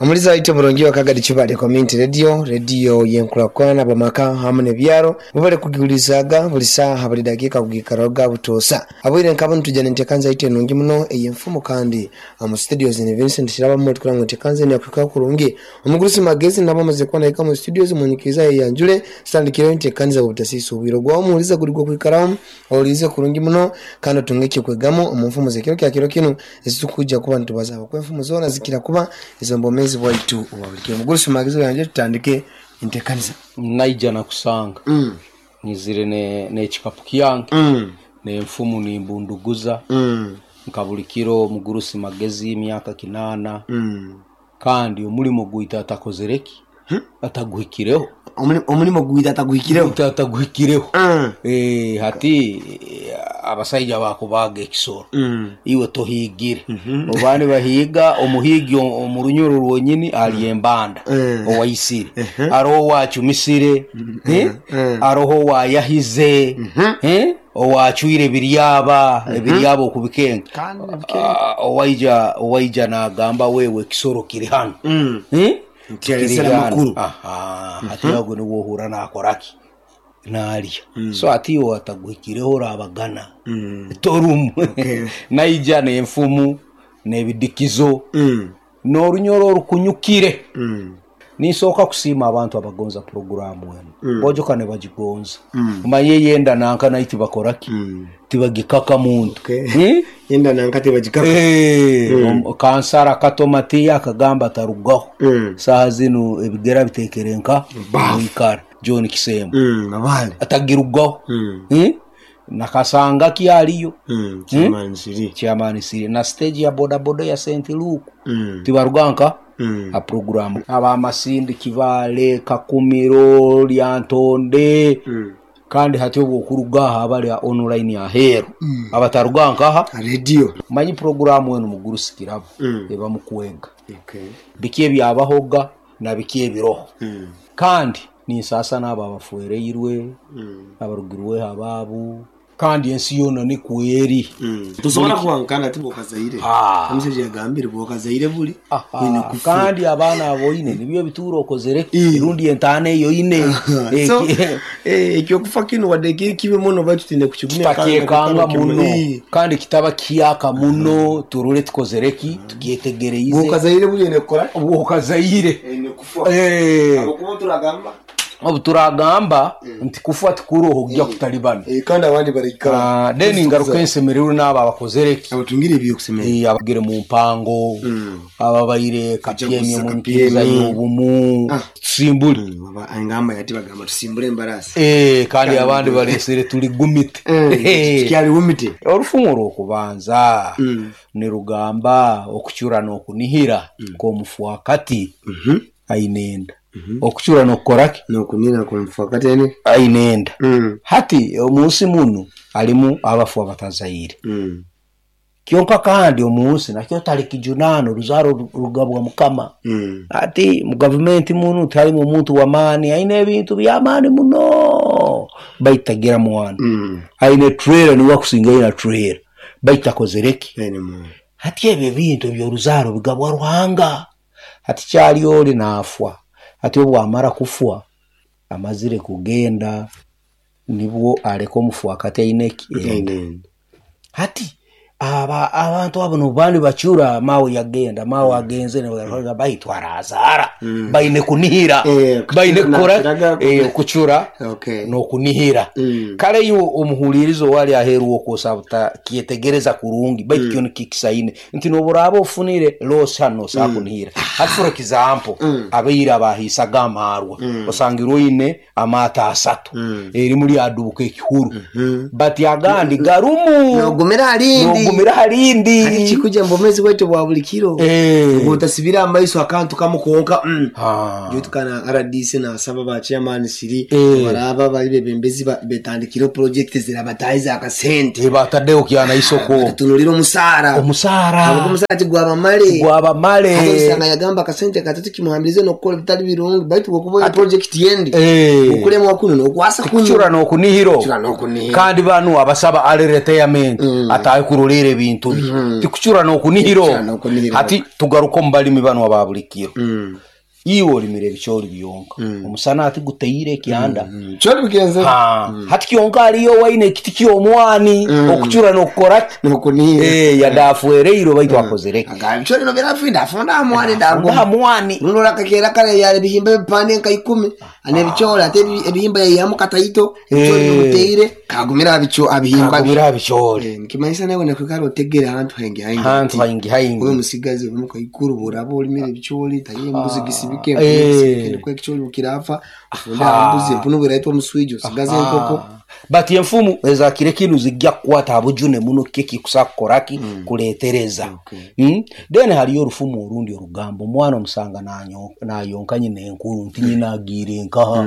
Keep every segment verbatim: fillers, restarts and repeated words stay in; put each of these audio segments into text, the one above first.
Omuliza waitu omurungi wa Kagadi Kibale Community Radio, radio yenkulakulana bamaka hamu n'ebyaro bubale kugiwulizaga buli saaha buli dakiika kugikaraga butoosa abwire nkabo nitujja nentekanza yaitu enungi muno ey'enfumu kandi mu studios ni Vincent Shiraba mutukura ngu entekanza enu yakuhikaho kurungi omugurusi magezi nabo amaze kuba nahika mu studios munyikiriza yeyanjule tutandikireho enteekaniza butasiisa obwire ogwawo omuwuliza guli gwokwikaramu owulize kurungi muno kandi otunge ekyokwegamu omu nfumu zekiro kya kiro kinu ezitukujja kuba nitubazaho kuba enfumu zoona zikira kuba ez'obwomeezi bwaitu obwa buli kiro. Omugurusi magezi oyanje tutandike enteekaniza. Naija nakusanga Mm. nyizire ne- n'ekikapu kyange Mm. n'enfumu nimbunduguza Mm. nka buli kiro omugurusi magezi emyaka kinaana Mm. kandi omulimo gwaitu atakozereki ataguhikireho Omuli- omulimo gwita ataguhikireho Gwaitu ataguhikireho Mm. Eh, hati eh, abasaija bakubaga ekisoro Mm. iwe tohigire obandi bahiga omuhigi o- omu runyoro rwonyini ali embanda Mm. owaisire aroho owacumisire eh? Mm. aroho owayahize eh? owacwire ebiryaba ebiryaba okubikenga Kandi bikenga. Ah, owaija owaija nagamba wewe ekisoro kiri hano Mm. Eh? Ntiyaresera Kiri hano. amakuru. Aha, hati ago niwo ohura nakoraki nalya so ati iwe ataguhikireho orabagana Mm. torumu Okay. naija n'enfumu n'ebidikizo Mm. n'orunyoro orukunyukire Mm. ninsooka kusiima abantu abagonza puroguramu enu Mm. bojoka ne bagigonza Mm. omanye yenda nanka naye tibakoraki Mm. tibagikaka muntu Okay. Eh? Yenda nanka tebagikaka. Eh, om- kansara kato matiya akagamba atarugaho Mm. saaha zinu ebigera bitekere nka mwikara John Kisembo Mm. Abale. atagirugaho Mm. Eh? nakasanga kyaliyo Mm. Chairman Siri. chairman siri na stage ya bodaboda ya St Luke Mm. tibaruga nka Mm. a programu abamasindi Kibale Kakumiro Lyantonde Mm. kandi hati obwokuruga aha abali online aheeru abataruga nkaha Radio. manyi programu enu mugurusi kirabo Mm. eba mukwega Okay. biki ebyabahoga na biki ebiroho Mm. kandi ninsaasa n'abo abafuereirwe Mm. abarugirweho abaabu kandi ensi yoona nikweri Mm. Tusobola kuwankana ti bwokazaire. Ah. Omushaija yagambire bwokazaire buli. Aha, Oine kufa. kandi abaana aboine nibyo bituura okozere Eh. rundi entaana eyo ine So, eh, ekyokufa kinu wadde kiri kibi muno baitu twine kukigumya kandi kitakyekanga kukikora muno kimwe. kandi kitaba kiyaka muno turole tukozereki tukyetegereize Bwokazaire buli oine kukora bwokazaire oine kufa. Eh, Ahabwokuba turagamba obu turagamba nti kufa tikuroho kujya kutalibana Eh, kandi abandi barikara. Ah, then ngaruka ensemererwe n'abo abakozereki Abatungire ebyokusemera. Eh, abagire mu mpango Mm. ababaire kapyemi Kujaguza omu nkiriza Kapyemi. y'obumu Ah. tusimbule Mm, aba- engamba yati bagamba tusimbule embarasi. Eh, kandi abandi balesere tuli gumite Eh, Tukyali wumite. olufumu olwokubanza Mm. nirugamba okucura n'okunihira k'omufuakati Mhm. aine enda okucura n'okukoraki Nokunira kumufakati ene. aine enda Mm. hati omunsi muno alimu abafu abatazaire Mm. kyonka kandi omunsi nakyo tali kijunaano oruzaaro ru- rugabwa mukama Mm. ati mu gavumenti muno tiharimu omuntu w'amaani aine ebintu by'amaani muno baitu tagira mwana Mm. aine trailer niwe akusinga aine trailer baitu takozereki Aine mwana. hati ebyo ebintu ebyoruzaaro bigabwa ruhanga hati kyali oli naafwa hati obwamara kufwa amazire kugenda nibwo aleka omufuakati aine eki Aine enda enda. hati aba abantu abo nobandi bacura mawe yagenda mawe agenze ne baitu arazaara baine kunihira Eh, baine kucura kukora nakiraga- eh, kucura Okay. n'okunihira Mm. kale iwe omuhuliriza owali aheeru okwosa butakyetegereza kurungi baitu kyo nikikisaine nti noburaba ofunire losi hano nosaa kunihira hati for example abaire abahiisaga amaarwa osangire oine amaato asatu erimu lyadubuka ekihuru but agandi garumu Nogumira alindi. nogumira harindi Hari kikuja mbomezi bwaitu bwa buli kiro. Eh. Otasibira amaiso akantu kamu konka. Mm. Ah. Jutukana R D C nasaba ba chairman siri Eh. baraba bali bebembezi ba- betandikire project zirabataiza akasente. Eh, bataddeho kyana isoko Tunulira omusaara. omusaara Ahabwokuba omusaara tigwabamale. gwabamale Hati osanga yagamba akasente katatu kimuhambirize n'okukola ebitali birungi baitu bwokuba project yendi Eh. okuremwa kuno n'okwasa kuno kucura n'okunihiro Kucura n'okunihira. kandi banu abasaba ali retirement Mm. atahe kurora afuere ebintu bye tikucura n'okunihira hati tugaruka omu balimi bano aba buli kiro iwe olimire ebicoori byonka omusana ati guteire ekyanda Choli bigenze Ha, hati kyonka aliyo waine ekiti ky'omwani okucura n'okukora ki nokunihira Eh, yadafuereire baitu akozereki agamba choli no birafinda afunda mwani ndago ndago mwani Nuno kakera kale yale bihimba bipande nka ikumi ane bichola ate ebi- ebihimba yayihamu kataito ebicholi Eh. biteire kagumira abicho abihimba kagumira bicoori Eh, nikimanyisa nawe nakwikara otegere ahantu haingi haingi hantu haingi oyo haingi musigazi omukaikuru buraba olimire ebicholi taye embuzi gisibike Eh. niko ekicholi bukirafa ufunda embuzi empunu bwiraitwa omuswija osigaze enkoko but enfumu ezakire kinu zijja kukwata abujune muno kiki kusa kukoraki kuletereza Okay. mm? Then haliyo orufumu orundi orugambo omwana omusanga nanyo- nayonka nyina enkuru nti nyina agiire nkaha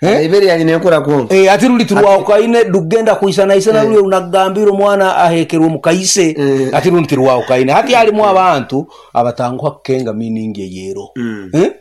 eh? Ibere yali nenkura kwonka Eh, ati ruli turwaukaine rugenda kuisanaisana ruli runagambira omwana ahekerwe mukaise Eh. ati rundi tirwaukaine hati halimu abantu abatanguha kukenga meaning eyero Eh?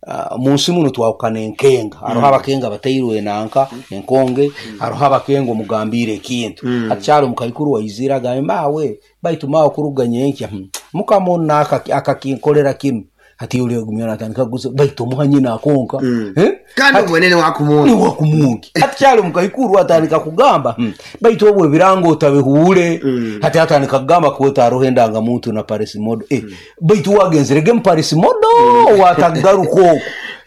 Ah, munsi muno twawukana enkenga hariho abakenga batairwe nanka enkonge hariho abakenga omugambire ekintu hati kyali omukaikuru waizire agambe mawe baitu mawe kuruga nyenkya hmm, mukama onu naka- akakinkolera kinu hati uli agumya natandika kuguza baitu omuha nyina akonka Eh? kandi obwenene wakumwona niwa kumungi hati kyali omukaikuru atandika kugamba hmm, baitu obwo ebirango otabihuure hati atandika kugamba kuweta hariho endangamuntu na parisimodo eh, baitu wagenzerege mu parisimodo watagaruka okwo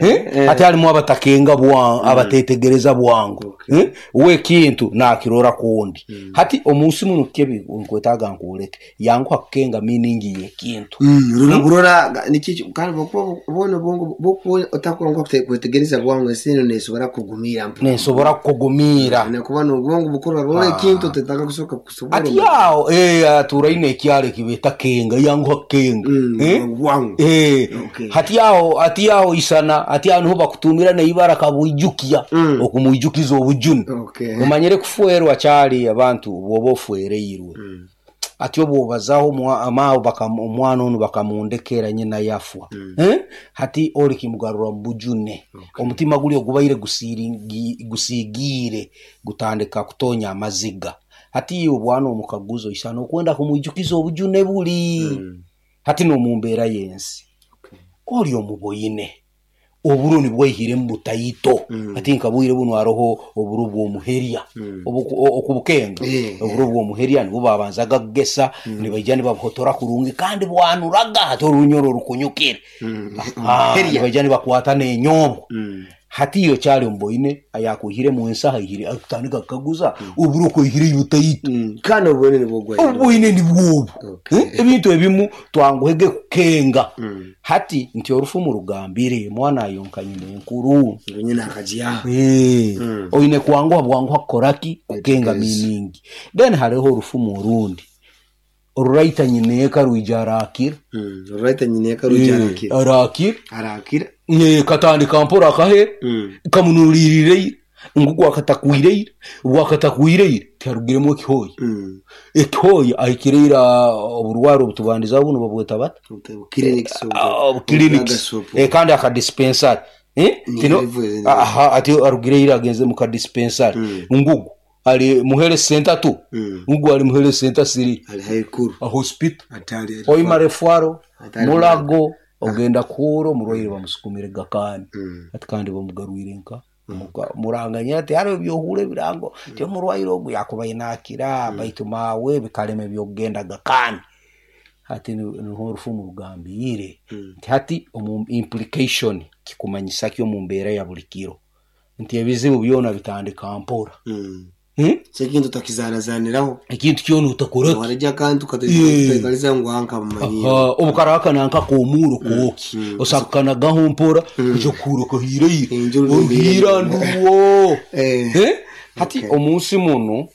Eh? Hati halimu abatakenga bwangu abatetegereza bwangu Eh? we kintu nakirora kundi hati omunsi muno kebi nkwetaaga nkuwuleke yanguha kukenga meaning yekintu Mm, rura burora niki kandi bokuba bona obwongo bokuba otakurongo kwetegereza bwangu ensi eno nesobora kugumira mpu nensobora kukugumiira nakuba n'obwongo bukurora rora ekintu otetaka kusoka kusobora ati yawo eh, aturaine ekyalo ekibeta kenga yanguha kenga Mm, Eh? bwangu Eh, Okay. hati yawo hati yawo isana hati yawo niho bakutumira neibara kabwijukia Mm. okumwijukiza obujuni Okay. omanyire kufuerwa kyali abantu bwoba ofuereirwe ati obwobazaho omwa- amawo bakam- omwana onu bakamundekera nyina yafwa Eh? hati oli kimugarura mu bujune omutima guli ogubaire gusiringi- gusigiire gutandika kutonya amaziga hati iwe bwana omukaguzo isana okwenda kumwijukiza obujune buli hati n'omumbeera y'ensi oli omuboyine oburo nibwaihire mu butaito ati nkabwire buno hariho oburo bw'omuherya Obu- o- okubukenga Eh, oburo bw'omuherya nibwo babanzaga kugesa nibaija nibabuhotora kurungi kandi bwanuraga hati orunyoro orukunyukire Ah, nibaija nibakwata n'enyombo hati iyo kyali omuboyine ayakwihire mu ensaha aihire akutandika kukaguza oburo kwaihire ibutaito Mm, kandi obwenene bwogwa obwine ni bwobu Okay. Eh, ebintu ebimu twanguhege kukenga hati nti orufumu rugambire mwana ayonka nyina enkuru nyina akajiaho Eh, oine kwanguha bwanguha kukoraki kukenga meaning then hariho orufumu orundi oruraita nyina eka rwija arakira Mm, ruraita nyina eka rwija arakira arakira arakira Eh, katandika mpora akahera Mm. kamunuriirireire ngu gwakatakwire gwakatakwire tiharugiremu ekihoya Mm. ekihoya ahikireire oburwaro obutubandizaho buno babweta bata Clinics Ah, clinics Eh, kandi akadispensary Eh, Ni tino hivyo, aha ati arugireire agenze mu kadispensary ngugu ali muhere center tu Mm. ngugu ali muhere center siri ali haikuru a hospital atali oimara efwaro Atari mulago ogenda kuhura omurwaire bamusukumire gakani Mm. ati kandi bamugarwire nka Muka- muranganya ati hariho ebyohura ebirango ti omurwaire ogu yakuba inakira baitu mawe bikalema ebyokugenda gakani hati ni- niho orufumu rugambire nti hati omu implication kikumanyisa ki omu mbeera ya buli kiro nti ebizibu byona bitandika mpora Mm. Hmm? Sekintu takizanazaniraho ekintu kyona otakoraki warejja akantu kataikaliza ngu anka mumanyire obukaraka nanka komuro koki osakukanagaho mpora kuja kuhura kahireire Enjuru oruhira nduwo Eh. Eh? hati omunsi muno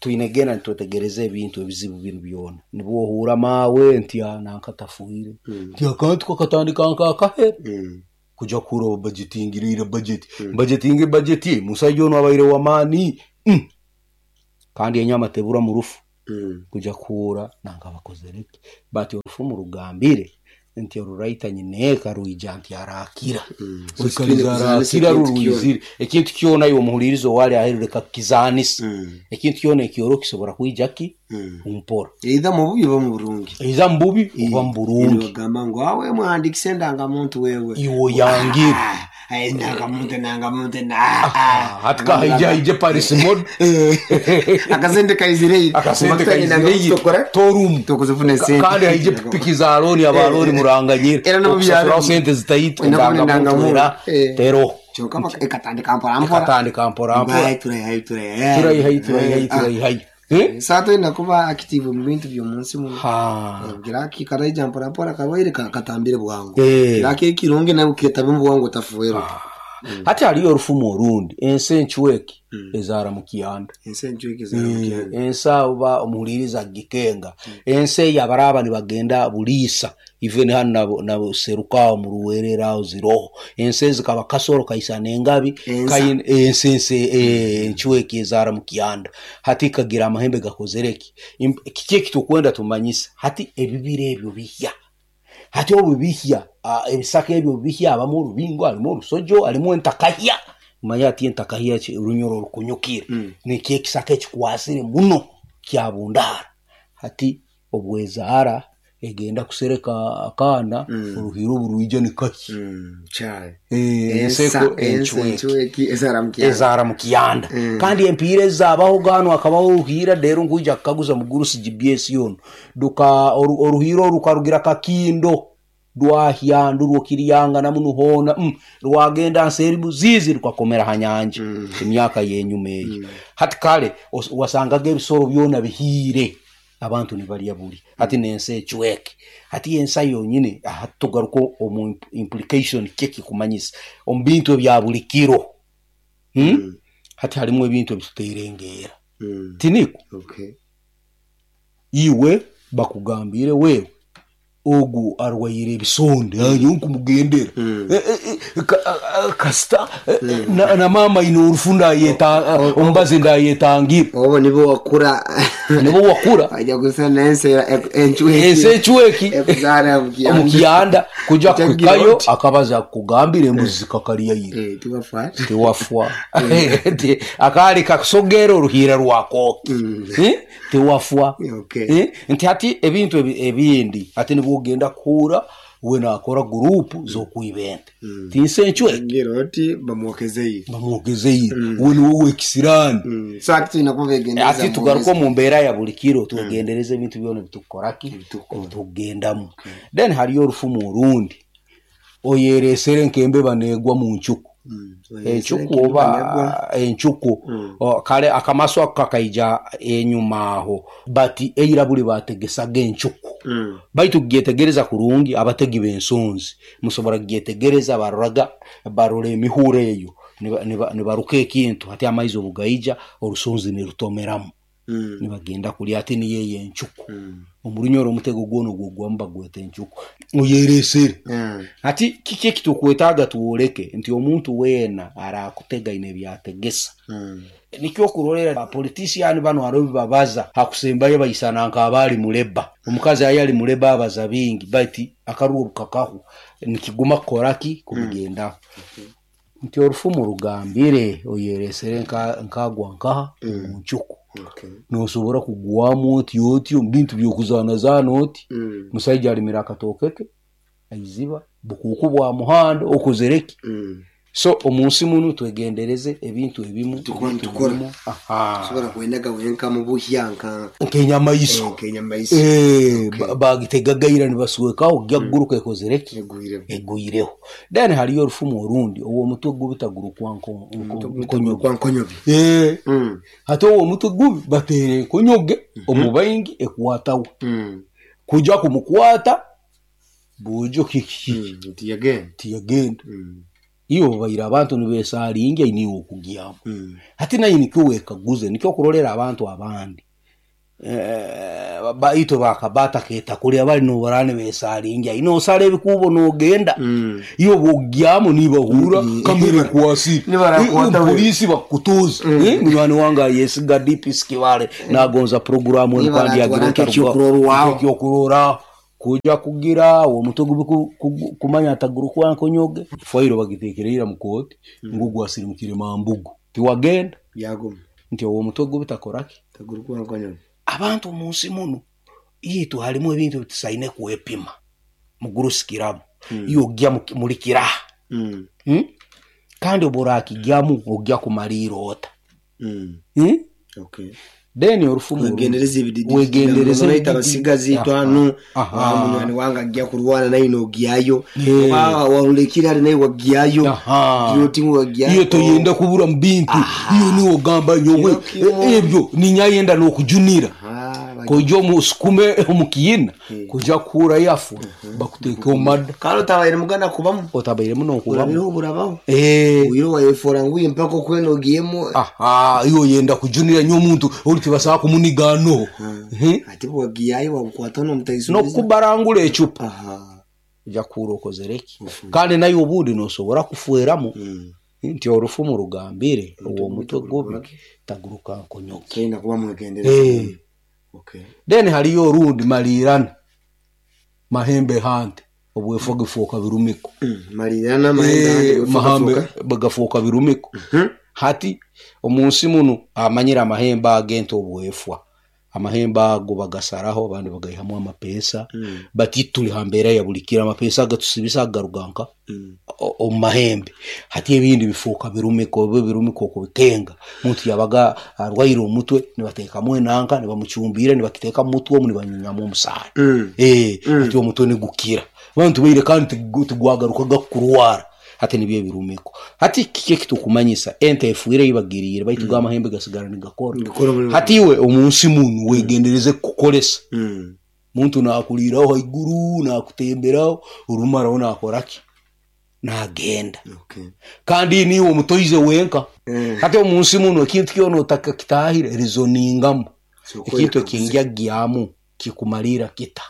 twine genda nitwetegereza ebintu ebizibu binu byona nibwo ohura mawe nti "Ah, nanka tafuire nti akantu kakatandika nkakahera Mm. kuja kuhura bajetingirire budget bajetinge budget musaija ono abaire wamaani Mm. kandi enyama tebura mu rufu Mm. kuja kuhura nanga bakozereki bati orufumu rugambire Nti oruraita nyineeka rwija nti arakira. Mm. Oikaliza arakira rurwizire ekintu kyona iwe omuhuliriza owali aheru leka kukizanisa. Mm. Ekintu kyona ekyoro kisobora kwija ki Mm. mpora Either mu bubi oba mu burungi. Eiza mu bubi oba mu burungi. Bagamba ngu awe muhandikise endangamuntu wewe. Iwe oyangire. Ah, endangamuntu endangamuntu na Hati kahaija haije Paris mode. Akasente kaizire. Akasente kaizire torumu. Tokuzifuna sente. Kandi haije pikipiki za loni abaloni muranganyire. Era no mu byaro. Okusasuraho sente zitaitwa Ena kubona endangamuntu era endangamuntu. Eh. tero. Kyokka baka- ekatandika mpora mpora. Ekatandika mpora mpora. Bayi turayihayo turayihayo. Turayihayo turayihayo turayihayo. Eh? Saa twenda kuba active mu bintu by'omunsi muno. Ha. Kiraki karaija mpora mpora karwaire ka- katambire bwangu. Eh. Kiraki ekirungi nawe ketabe mu bwangu otafuwerwa. Hati hariyo orufumu orundi ensi enchweki ezaara mu kyanda. Ensi enchweki ezaara mu kyanda. Ensi abo omuhuliriza gikenga ensi eyo abaraba nibagenda buliisa even hanu na serukaho mu ruwerera aho ziroho ensi ezikaba kasoro kaisana engabi Ensa. ensi ensi enchweki ezaara mu kyanda. Hati kagira amahembe gakozereki kiki ekitukwenda tumanyisa hati ebibira ebyo bihya. Hati obu bihya ebisaka ebyo bihya abamu orubingo harimu orusojo harimu entakahya. Manya ati entakahya orunyoro rukunyukire. Mm. Nikyo ekisaka ekikwasire muno kyabundara. Hati obwezaara egenda kusereka akaana Mm. oruhiro oburwija nikaki. Mm, kyai. Enseko enchweki enchweki ezaara mu kyanda. Ezaara mu kyanda. Mm. Kandi empiira ezaabaho gano hakabaho oruhiira rero nkwija kukaguza mugurusi G B S yono. Duka oruhiira oru rukarugira Kakindo rwahya ndurwo Kiryanga namunuhona mm, rwagenda nseeri Buzizi rukakomera ha nyanja Mm. emyaka yenyuma eyo. Mm. Hati kale wasangaga ebisoro byona bihiire abantu nibarya buri. Hati n'ensi ecweke. Hati ensa yonyine hati tugaruka omu implication kiki kumanyisa omu bintu ebya buri kiro. Hmm? Mm. Hati harimu ebintu ebituteerengeera. Mm. Tiniko? Okay. Iwe bakugambire wewe ogu arwaire ebisonde ayo nkumugendera. Mm. E, e, e, ka, kasita mm. na, na mama ino orufu ndayeta ombazi ndayetangira. Obo nibo wakura. Nibo wakura. Ajya gusa n'ensi enchweki. Ensi enchweki. Ekuzaara mu kyanda. Mu kyanda kuja Kujagira kuhikayo oti. akabaza kugambira embuzi zikakarya ire. Eh, tiwafwa. Tiwafwa. Akali kakusogera oruhira rwakoki. Mm. Eh? Tiwafwa. Okay. Eh? Nti hati ebintu ebindi hati nibwo ogenda kuhura we nakora gurupu z'okwibente. Mm. Tinse enchweki. Ngira oti bamwokezeyo. Bamwokezeyo. We niwe wekisirani. Mm. So ati tulina kubegendereza. Ati tugaruka omu mbeera ya buri kiro twegendereze ebintu byona ebitukukoraki Ebitukukora. ebitukugendamu. Then hariyo orufumu orundi oyeresere nk'embeba neegwa mu ncuku. Mm. Encuku oba encuku. Mm. Kale akamaso ako kakaija enyuma aho bati eira buli bategesaga encuku. Mm. Baitu kugyetegereza kurungi abategi b'ensonzi musobora kugyetegereza baroraga barora emihuro eyo nibaruka ekintu hati amaizi obugaija orusonzi nirutomeramu. Mm. Nibagenda kulya ati niyo eyo encuku. Mm. Omurunyoro omutego gwona ogwogwamu bagweta encuku oyeresere. Mm. Hati kiki ekitukwetaaga tuworeke nti omuntu weena arakutega ine ebyategesa. Mm. Nikyo okurorera abapolitician bano hariho ebibabaza hakusembayo baisana nk'abaali muleba. Omukazi aye ali muleba abaza bingi bati akaruo rukakahu nikiguma kukoraki kubigendaho. Mm. Nti orufumu rugambire oyeresere nkagwa nkaha Mm. mu ncuku. Okay. Nosobora kugwamu oti oti omu bintu by'okuzaanazaana oti. Mm. Musaija alimira akatooke ke aiziba bukuuku bwa muhanda okozereki. Mm. So omunsi muno twegendereze ebintu ebimu Tukora tukora. Aha. Tusobora kwenaga wenka mu buhya nka nk'enyamaiso. Nk'enyamaiso. Eh, Okay. bagitegagaira nibaswekaho gyaguruka ekozereki Egwireho. Egwireho. Then hariyo orufumu orundi ow'omutwe gubi tagurukwa nko nkonyoge. Kwa nkonyoge. Eh. Mm. Hati ow'omutwe gubi bateera enkonyoge omu baingi ekwatawo. Mm. Kuja kumukwata bujo kiki. Mm. Tiyagenda. Tiyagenda. Mm. Iyo babaire abantu nibesalinga niwe okugyamu. Mm. Hati naye nikyo wekaguze nikyo okurorera abantu abandi. Eh, baito bakabata keta kulya bali nobarane besalinga ino osale ebikubo nogenda. Mm. Iyo bogyamu nibahura Mm. kamere kwasi. Nibarakwata we. Polisi bakutuza. Mm. Eh, munywani wange yesiga D P Skibale nagonza programu Nibaratwara kandi nk'ekyokurorwaho. Ekyokurorwaho. Kuja kugira omutwe gubi kumanya atagurukwa nkonyoge fairo bagitekereira mu kooti ngu gwasirimukire mambugu tiwagenda byaguma nti owo omutwe gubi takoraki tagurukwa nkonyoge. Abantu omunsi muno yitu halimu ebintu bitusaine kwepima mugurusikiramu mm. iyo ogya mulikira mm. mm? Kandi oburakigyamu ogya kumalira ota mm. mm? Okay. Then orufumu wegendereza ebididi wegendereza ebididi abasigazi twanu munywani wange ajja kurwana naye nogyayo oba warulekira ali naye wagyayo girotimu wagyayo iyo toyenda kubura mu bintu iyo niwo gamba nyowe ebyo ninyayenda n'okujunira kujja omusukume omukiyina kujja kura yafu bakuteka omada kandi otabaire muganda kubamu otabaire muno kubamu burabaho eh uyo wayefora nguye mpaka okwena ogiyemo aha iyo yenda kujunira nyo omuntu oli tibasaba kumunigano ati wagiyayo wabukwata n'omutayiso n'okubarangula ecupa ojja kuura okozereki kandi naye obundi nosobora kufueramu nti orufumu rugambire uwo mutwe gubi taguruka nkonyoke ina kuba mwegendereza. Okay. Then haliyo orundi malirana mahembe hante obwefo gifuuka birumiko mm, malirana mahembe e, mahambe bagafuuka birumiko mm -hmm. Hati omunsi muno amanyira amahembe agento obwefwa amahembe ago bagasaraho abandi bagaihamu amapesa mm. Bati tuli hambera ya bulikira amapesa agatusibisa agaruganka mm. omu mahembe hati ebindi bifuuka birumiko obe birumiko okubikenga muntu yabaga arwaire omutwe nibateekamu enanka nibamucumbira nibakiteeka mu mutwe omu nibanyunyamu omusaayi mm. eh mm. Hati omutwe nigukira abantu baire kandi tigwagaruka gakurwara hati nibyo ebirumiko hati kiki ekitukumanyisa ente efuire ibagiriire baitu mm. gamahembe gasigara nigakora hati iwe omunsi munu wegendereze kukolesa mm. Muntu nakuliraho haiguru nakutemberaho orumaraho nakoraki nagenda. Okay. Kandi niwe omutoize wenka mm. Hati omunsi muno ekintu kyona otakakitahire rizoningamu so, ekintu ekingya gyamu kikumalira kita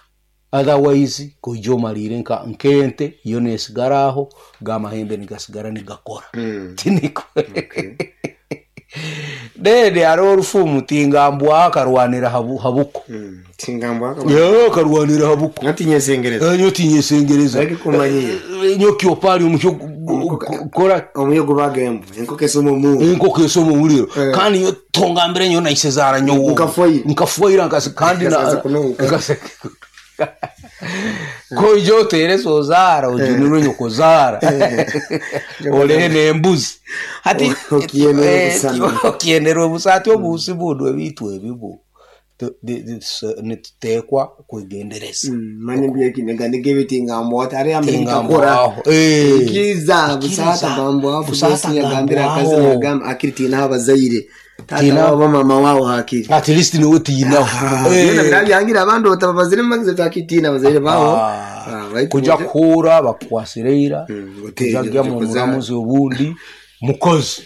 otherwise kujja omalire nka nkente yo nesigaraho gamahembe nigasigara nigakora mm. Tiniko okay. Dede ari orufumu tingambwa akarwanira habu, habuko mm. Tingambwa aka yo akarwanira habuko natinyesengereza nyo tinyesengereza ariko kumanyire nyo kyopali omukyo kora omuyo gubagembo enkoko esoma omuriro enkoko esoma omuriro kandi yo tongambire nyo naisezara nyo nkafoyira nkafoyira nkasi kandi na nkase koijo otere sozara ojunirwe nyokozara olehe nembuzi hati okiyenerwe busa hati obusi bundu ebitu ebibu nituteekwa kwegendereza manye mbyekinega nigebe tingambwa atari ambere ikiriza busata gambwa busata gambira akazi nagamba akiri tinaho abazaire tata wabo mama wao hakiri at least niwe tinaho eh birabyangira abandi otababazire magize takitina abazaire bawo kuja kura bakwasireira kuja mu muramuzi obundi mukozi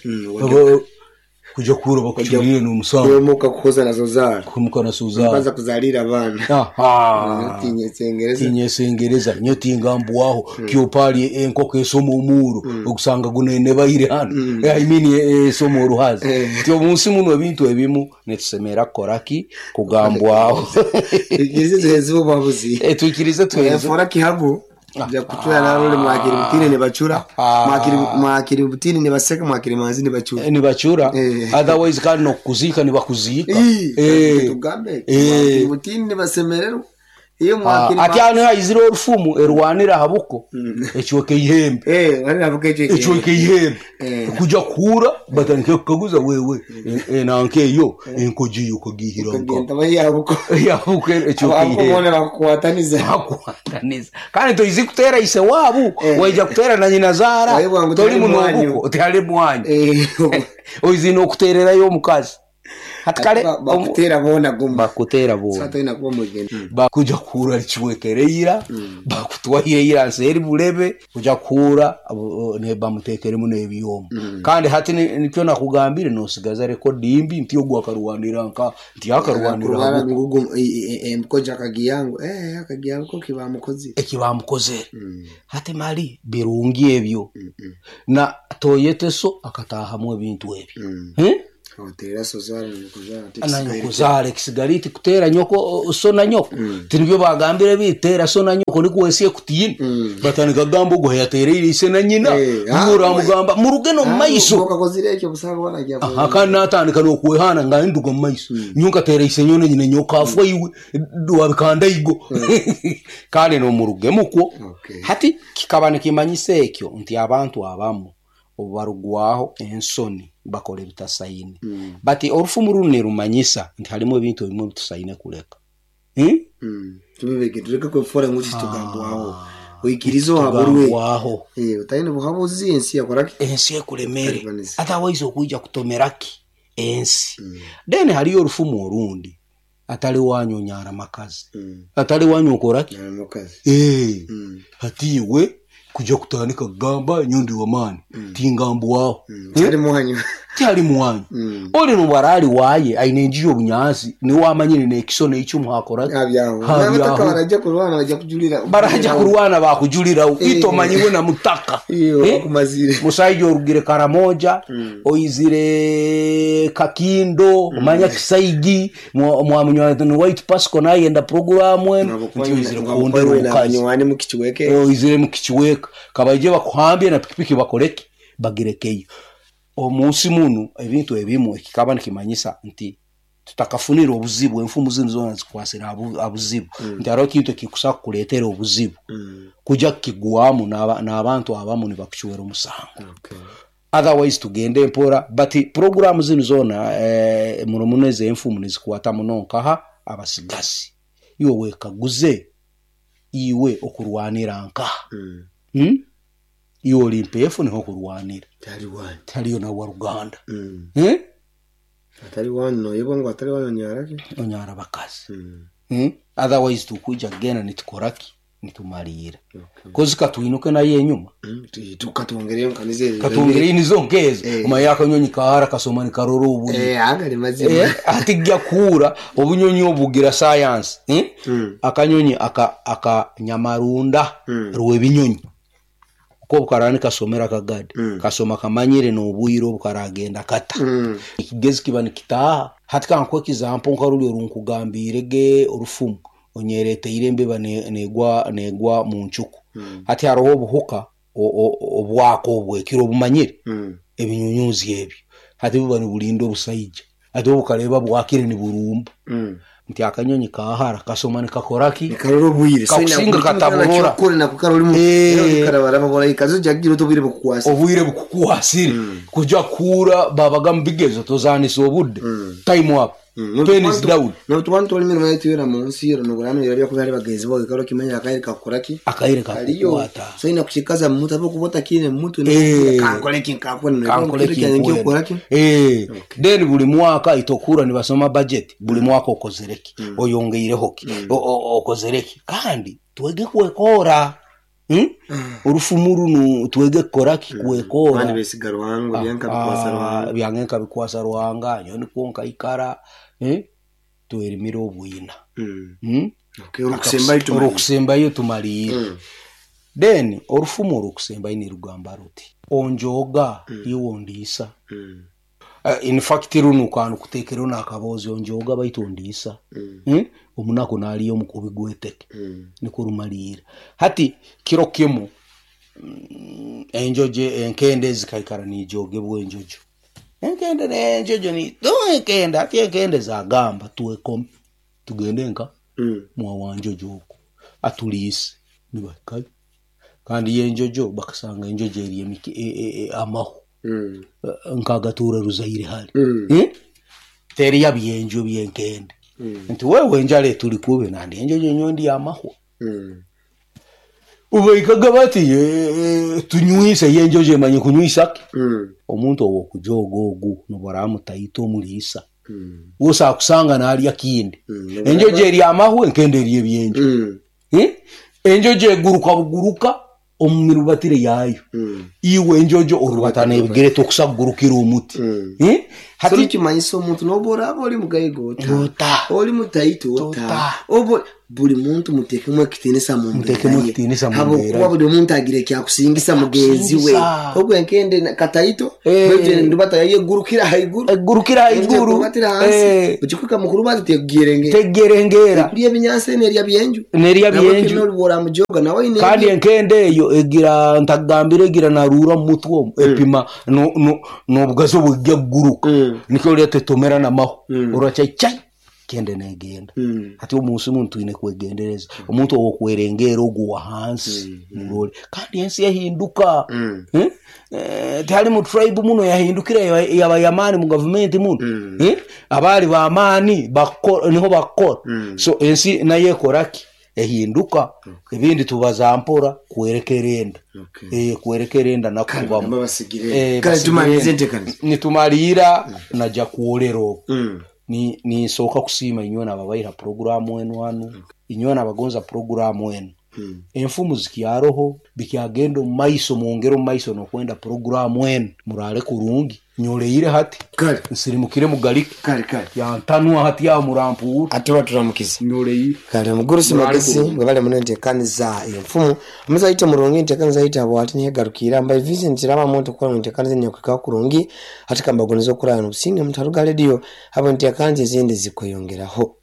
kuja kura bakuchurire n'umusango kwemuka kukoza nazo zara kwemuka nazo zara kwanza kuzalira abana aha tinyesengereza tinyesengereza nyo tingambwaho mm. kyopali enkoko esoma omuro mm. okusanga gunene baire hano mm. I mean esoma oruhazi eh. Ti omunsi muno ebintu ebimu netusemera koraki kugambwaho ikirize tuheze obuhabuzi eh tuikirize tuheze fora kihabu ja kuchura narole mwakiri butini ne bachura mwakiri mwakiri butini ne baseka mwakiri manzi ne bachura ne bachura otherwise kandi no kuzika ne bakuzika eh tugambe mwakiri butini ne basemerero iyo mwakiri ati ano haizira orufumu erwanira habuko ekiweke ihembe eh wali habuko ekiweke ihembe kuja kura batandike kukaguza wewe nanke eyo enkoji yo kagihira nko yabuko yabuko ekiweke ihembe abone bakukwataniza bakukwataniza kandi toizi kutera ise wabu waija kutera na nyina zara toli munobuko tali mwanyu oizi no kutererayo omukazi hatikale bakutera bona gumba bakutera bona sata ina kuba mugeni bakuja kura lichiwekereira bakutwahireira nseri bulebe kuja kura ne bamutekeremu n'ebyomo kandi hati nikyo nakugambire nosigaza rekodi mbi nti ogwa akarwanira nka nti akarwanira ngugu emkoja akagiyangu eh akagiyangu ko kibamukozi ekibamukozere hati mali birungi ebyo na toyeteso akatahamu ebintu ebyo hmm? Nanyokuzara ekisigariti kutera nyoko so na nyoko tinibyo bagambire bitera so na nyoko nikuwesie kutiina batandika kugamba ogu yatereire ise na nyina uramugamba muruge no mumaiso kandi natandika nokwehana nga nduga mumaiso nyonka tera ise nyone nyina nyoka afwa iwe wabikanda igo kandi nomuruge mukwo. Hati kikaba nikimanyisa ekyo nti abantu abamu obarugwaho ensoni bakora ebitasaine. Mm. But orufumu runu rumanyisa nti harimu ebintu ebimwe bitusaine kuleka. Hmm? Mm. Tubibeke tureke kwefora nguti tugambwaho. Oikirizo haburwe. Eh, utaine buhabuzi ensi yakoraki? Ensi ekulemere. Otherwise okuija kutomeraki ensi. Mm. Then hariyo orufumu orundi. Atali wanyu nyara makazi. Mm. Atali wanyu okoraki? Nyara makazi. Eh. Mm. Hati iwe kuja kutandika kugamba nyondi wa mani mm. tingambwaho mm. Tari muhanyu tari muhanyu mm. Oli nubarali waye aine njiyo bunyansi ni wamanyire nekiso neicyo muhakora abyaho nabataka baraja kurwana bajya kujulira baraja kurwana bakujulira itomanyiwe na mutaka iyo bakumazire musaije orugire Karamoja mm. Oizire Kakindo mm. Manya Kisaigi mwa munywa White Pasco nayenda program eno nti kondero mukazi mukichiweke oizire mukichiweke kabaije bakuhambye na pikipiki bakoreke bagirekeyo omunsi munu ebintu ebimu ekikaba nikimanyisa nti tutakafunira obuzibu enfumu zinu zona zikwasira abuzibu mm. Nti hariho ekintu ekikusa kukuleetera obuzibu mm. Kuja kukigwamu n'abantu abamu nibakucwera omusango. Okay. Otherwise tugende mpora but programu zinu zona eh, muno muno ezo enfumu nizikwata muno nkaha abasigazi iwe wekaguze iwe okurwanira nkaha mm. Hmm? Iwe oli mpefu niho kurwanira tari wanyu tariyo na waruganda mm. Eh? Atari wanyu no yebo ngo atari wanyu nyaraki onyara bakazi mm. Hmm? Otherwise tukuja gena nitukoraki nitumalira okay. Kozi katuinuke naye enyuma mm. Tukatwongereyo nkanize katwongereyo nizo nkezo eh. Omanya akanyonyi kahara kasoma nikarora obuyi eh agari mazima eh, atigya kuura obunyonyi obugira science eh? mm. Akanyonyi aka aka nyamarunda mm. rwebinyonyi uko bukarani kasomera kagadi mm. Kasoma kamanyire n'obwiro bukaragenda kata mm. Ekigezi kiba nikitaha hati kankwe example nkaruli orunkugambire ge orufumu onyereteire embeba negwa negwa mu ncuku mm. Hati hariho obuhuka obwako obwekiro obumanyire mm. Ebinyunyuzi ebyo hati buba nibulinda obusaija hati obukareba bwakire niburumba mm. Nti akanyonyi kahara kasoma nikakoraki nikarora obwire kakusinga kataburora kore nakukarora mu karabara babora ikazo jagira obwire bukukwasa obwire bukukwasire mm. Kuja kura babaga mubigezo tozanisa obudde mm. Time up Mm. Pen is down no tubantu twali mirimo yetu yona mu nsi yona nogurano yari kuba ari bagenzi bo gikaro kimenya akaire kakoraki akaire kakukwata so ina kushikaza mtu apo kubota kine mtu Eh. kankole kinkakwe kankole kinkakwe eh then buli mwaka itokura nibasoma budget buli mwaka okozereki Mm. oyongeireho ki okozereki kandi twege kwekora Hmm? Orufumu runo twege kukoraki kwekora bandi besiga ruhango byanka bikwasa ruhango byanka bikwasa ruhanga nyo niko nkaikara eh twerimira obwina Mm. hmm? Okay orukusembayo tumaliire orukusembayo tumaliire Mm. Then orufumu orukusembayo nirugamba ruti onjoga iwe ondiisa Mm. Uh, in fact runo kanu kuteekeraho n'akaboozi onjoga baitu ondiisa Mm. hmm? Omunaku naaliyo omukubi gweteke Mm. niko rumaliira hati kiro kimu mm, enjojo enkende zikaikara nijogebwa enjojo enkende nenjojo ni to enkende hati enkende zagamba twekome tugende nka Mm. mwawanjojo oku atuliise nibakayo kandi yenjojo bakasanga enjojo eri emiki e, e, e, amahu Mm. Eh, nkagatura ruzaire hali Mm. hmm? teriya byenjo byenkende Mm. nti wewe enjala etuli kube nandi enjojo nyondi yamahwa Mm. ubaikaga bati "Eh, tunywise yenjojo emanye kunywisaki Mm. omuntu owokujoga ogu nobaramutaita omuliisa Mm. wose akusanga nalya kindi Mm. enjojo eri amahwa enkende eri ebyenjo Mm. Eh? Enjojo eguruka buguruka omu mirubatire yayo Mm. iwe enjojo orubatana ebigere tokusa kugurukira omuti Mm. Eh? Hati Hati kimanyisa omuntu noba oraba oli mugaiga ota ota oli mutaito ota Tota. obo Buli muntu mutekemu ekitinisa mu Mutekemu ekitinisa mu habwokuba mbeera ye. buli muntu agira ekyakusingisa mugenzi we. Ekyakusingisa. Ogwo enkende na- kataito Eh. baitu endubata yayegurukira haiguru, Egurukira haiguru. Ekubatira hansi, Eh. ukikwika mukuru bazi tegerenge Tegerengera. Kurya ebinyansi nerya byenju. Nerya byenju. Bora mujoga nawe ine. Kandi enkende eyo egira ntagambire egira narura mu mutwe omwo, epima no- no- n'obugazi obujja kuguruka. Mm. Nikyo orya tetomera namaho. Mm. Oracha chai kende negenda. Mm. Hati omunsi muntu twine kwegendereza omuntu owokwerengera ogwo wa hansi murole, kandi ensi yahinduka. Mm. Eh? Eh, tihali mu tribe muno yahindukira yaba- yaba yamaani mu gavumenti muno. Mm. Eh? Abaali bamaani bako- niho bakora. Mm. So ensi nayo ekoraki ehinduka, ebindi tubaza mpora kwerekera enda. Okay. Eh, kwerekera enda nakubamu. Nabo basigire. Eh, Kale basigire. tumalize entekaniza. Nitumaliira najja kwolera obwo. Mm. Ni nisooka kusiima inywe nababaira puroguramu enu hanu, inywe nabagonza puroguramu enu. Mm. Enfumu zikyaroho bikyagenda omu maiso, mwongere omu maiso nokwenda puroguramu enu murale kurungi nyoleire hati. Kale. Nsirimukire mugalike. Kale kale. Yantanwa hati aho murampuura. Ate baturamukiza. Nyoleire. Kale mugurusi Murale magezi kurungi. bwe bali muno entekaniza enfumu omuzaite murungi entekaniza yite abo ati niyegarukira mbaye Vincent kiraba muntu kukola mu ntekaniza nyakwika kurungi ati kambagoniza okurana obusinge mutaruga radio abo entekaniza ezindi zikweyongeraho.